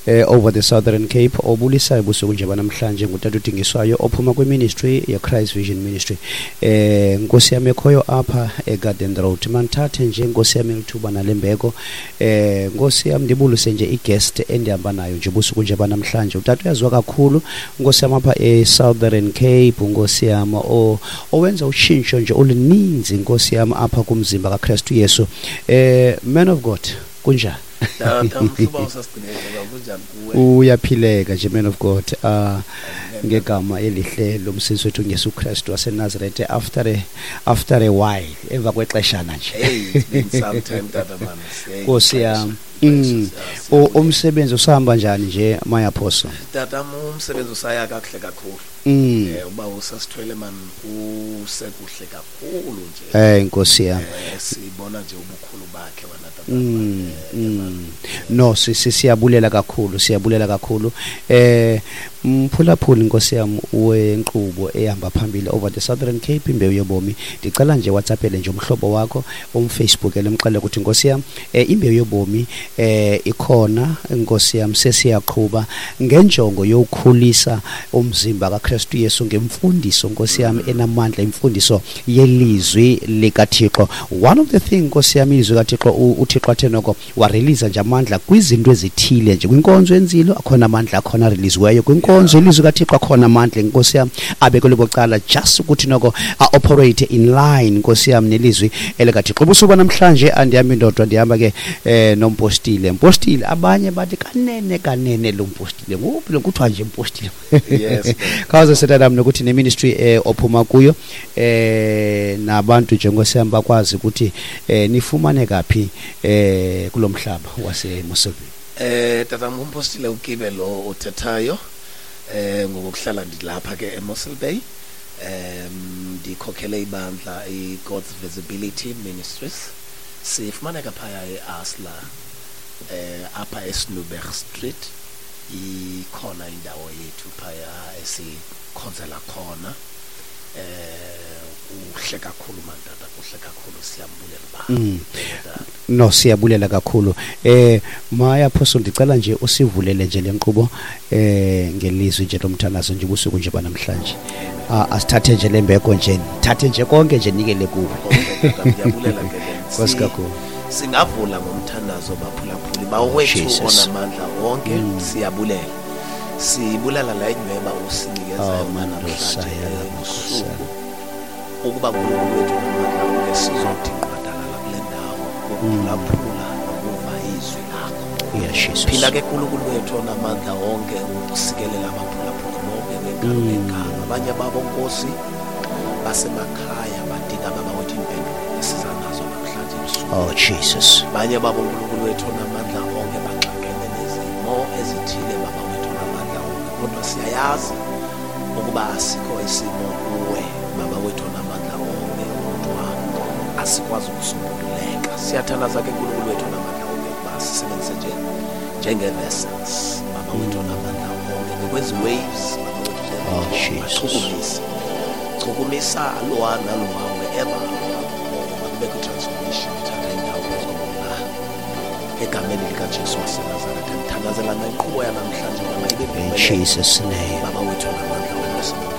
Over the Southern Cape. Obulisayo busuku nje banamhlanje ngutata uDingiswayo ophuma kwiministry ye-Christ Vision Ministry, nkosi yam, ekhoyo apha eGarden Road. Mandithathe nje, nkosi yam, elithuba nalembeko, nkosi yam, ndibulise nje iguest endihamba nayo nje busuku nje banamhlanje. Utata uyaziwa kakhulu, nkosi yam, apha e-Southern Cape, nkosi yam, owenza utshintsho nje oluninzi, nkosi yam, apha kumzimba kaKristu Yesu. Man of God, kunjani? Tata, mhlobo, usasigcinele, kunjani kuwe? Uyaphileka nje, man of God, ngegama elihle lomsindisi wethu Yesu Kristu waseNazareth, after a while, emva kwexeshana nje. Hey, it's been some time, tata man. Hey, Nkosi yam. Xesha, Umsebenzi usahamba njani nje, my apostle? Tata, umsebenzi usaya kakuhle kakhulu. Uba usasithwele man, usekuhle kakhulu nje. Nkosi yam. Sibona nje ubukhulu bakhe wena, tata. No, siyabulela kakhulu, siyabulela kakhulu. Mphulaphuli, nkosi yam, wenkqubo ehamba phambili over the Southern Cape, Imbewu Yobomi. Ndicela nje WhatsAppele nje umhlobo wakho, umFacebook, emxelele ukuthi, nkosi yam, Imbewu Yobomi ikhona, nkosi yam, sesiyaqhuba ngenjongo yokukhulisa umzimba kaKristu Yesu ngemfundiso, nkosi yam, enamandla, imfundiso yelizwi likaThixo. One of the thing, nkosi yam, ilizwi kaThixo, uThixo athe noko wareleasa nje amandla kwizinto ezithile nje. Kwinkonzo yenzilo akhona amandla akhona areleasiweyo, kwinkonzo yelizwi kaThixo akhona amandla, nkosi yam, abekelwe bucala just ukuthi noko a-operate in line, nkosi yam, nelizwi elikaThixo. Ubusuku namhlanje andihambi ndodwa, ndihamba ke nompostile. Mpostile, abanye bathi kanene kanene lo mpostile nguphi lo kuthiwa nje mpostile? Yes, man. Khawuze setatam nokuthi neministry ophuma kuyo, nabantu nje, nkosi yam, bakwazi ukuthi nifumane kaphi kulo mhlaba waseMossel Bay. Tata, ngumpostile uKibe lo uthethayo. Ngokuhlala ndilapha ke eMossel Bay. Ndikhokhele ibandla iGod's Visibility Ministries. Sifumaneka phaya eAsla, apha eSnuberg Street. Ikhona indawo yethu phaya esikhonzela khona. Kuhle kakhulu man, tata, kuhle kakhulu, siyambulela ba. Tata. No, siyabulela kakhulu. My apostle, ndicela nje usivulele nje lenkqubo ngelizwi nje lomthandazo nje ubusuku nje banamhlanje. Asithathe nje lembeko nje, thathe nje konke nje, nikele kuwe. Okay, tata, ndiyabulela ke then. Nkosi kakhulu. Singavula ngomthandazo, baphulaphuli. Bawethu Jesus. onamandla wonke, siyabulela. Sibulela la inyweba usinikeza Oh, yona namhlanje Mandosaya, ebusuku. Ukuba uNkulunkulu wethu onamandla wonke sizothi nqwadalala kule ndawo ukuphulaphula nokuva izwi lakho. Yeah, Jesus. Phila ke, Nkulunkulu wethu onamandla wonke, usikelela abaphulaphuli bonke ngegama ngegama. Abanye babo, Nkosi, basemakhaya badinga, baba wethu, impendulo esiza nazo namhlanje ebusuku. Oh Jesus. Abanye babo, Nkulunkulu wethu onamandla onke, baxakene nezimo ezithile, baba wethu onamandla onke, kodwa siyayazi ukuba asikho isimo kuwe, baba wethu onamandla onke, kodwa asikwazi ukusombululeka. Siyathandaza ke, Nkulunkulu wethu onamandla onke, ukuba sisebenzise nje njenge-vessels, baba wethu onamandla onke, ngokwezi waves, baba wethu, Oh, Jesus. bachukumise, chukumisa lowa nalowa wherever makubekho i-transformation ethatha indawo phezu kobomi bakho, egameni likaJesu waseNazaretha. Ndithandazela nenkqubo yanamhlanje, baba, ibe In mpumelelo. Jesus' name. Baba wethu onamandla onke, sibonke.